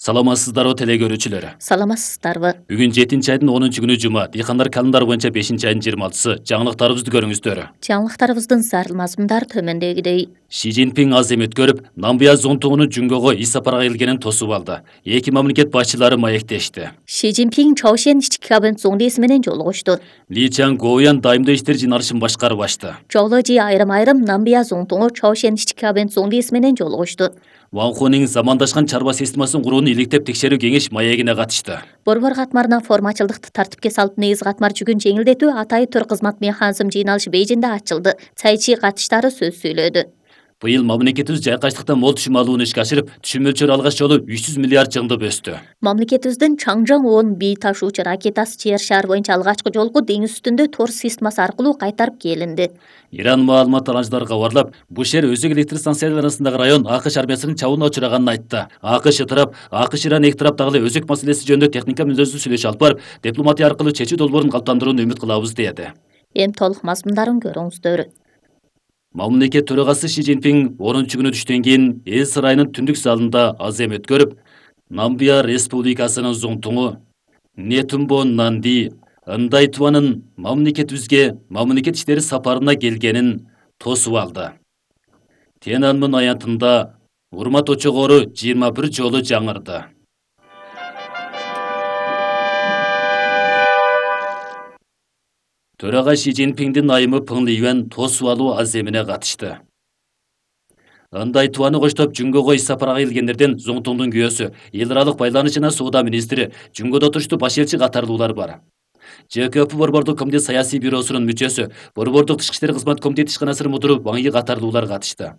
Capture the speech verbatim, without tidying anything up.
Саламатсыздарбы теле көрүүчүлөр. Саламатсыздарбы. Бүгүн жетинчи айдын онунчу күнү жума. Дыйкандар календары боюнча бешинчи айдын жыйырма алтысы. Жаңылыктарыбызды көрүңүздөр. Жаңылыктарыбыздын зарыл мазмундары төмөндөгүдөй. Ши Цзиньпин азем өткөрүп, Намибия зонтугунун Жүнгөгө ис сапарга келгенин тосуп алды. Эки мамлекет башчылары маектешти. Ши Цзиньпин Чаошен ички кабинет зоңдеси менен жолугушту. Ли Чжангоуян дайымдуу иштер жыйналышын башкарып ачты. Жолу жи айрым-айрым Намибия зонтугу Чаошен ички кабинет зоңдеси менен жолугушту. Ван Хунин замандашкан чарба системасын курууну иликтеп текшерүү кеңеш маегине катышты. Борбор катмарына формачылдыкты тартипке салып негиз катмар жүгүн жеңилдетүү атайы төр кызмат механизм жыйналышы Бейжиңде ачылды. Цайчи катыштары сөз сүйлөдү. Быйыл мамлекетибиз жайкачтыктан мол түшүм алууну ишке ашырып, түшүм мөлчөрү алгач жолу үч жүз миллиард жыңдып өстү. Мамлекетибиздин Чаңжаң он бий ташуучу ракетасы жер шаар боюнча алгачкы жолку деңиз үстүндө тор системасы аркылуу кайтарып келинди. Иран маалымат аланчылары кабарлап, Бушер өзөк электр станциялары арасындагы район АКШ армиясынын чабууна учураганын айтты. АКШ тарап, АКШ Иран эки тарап дагы өзөк маселеси жөнүндө техника мүнөздүү сүйлөшүү алып барып, дипломатия аркылуу чечүү долбоорун калыптандырууну үмүт кылабыз деди. Эми толук мазмундарын көрүңүздөр. Мамлекет төрагасы Ши Цзиньпин онунчу күнү түштөн кийин эл сарайынын түндүк залында азем өткөрүп, Намибия Республикасынын зонтугу Нетумбо Нанди Ындай-Туанын мамлекетибизге мамлекет иштери сапарына келгенин тосуп алды. Тяньаньмэнь аянтында урмат очогору жыйырма бир жолу жаңырды. Төрага Ши Цзиньпиндин айымы Пын Лиюан тосуп алуу аземине катышты. Ындай-Туаны коштоп Жүнгөгө ис сапарга келгендерден зонтугдун күйөөсү, эл аралык байланыш жана соода министри, Жүнгөдө туруштуу баш элчи катарлуулар бар. ЖКП Борбордук комитет саясий бюросунун мүчөсү, Борбордук тышкы иштер кызмат комитети ишканасынын мудуру Ван И катарлуулар катышты.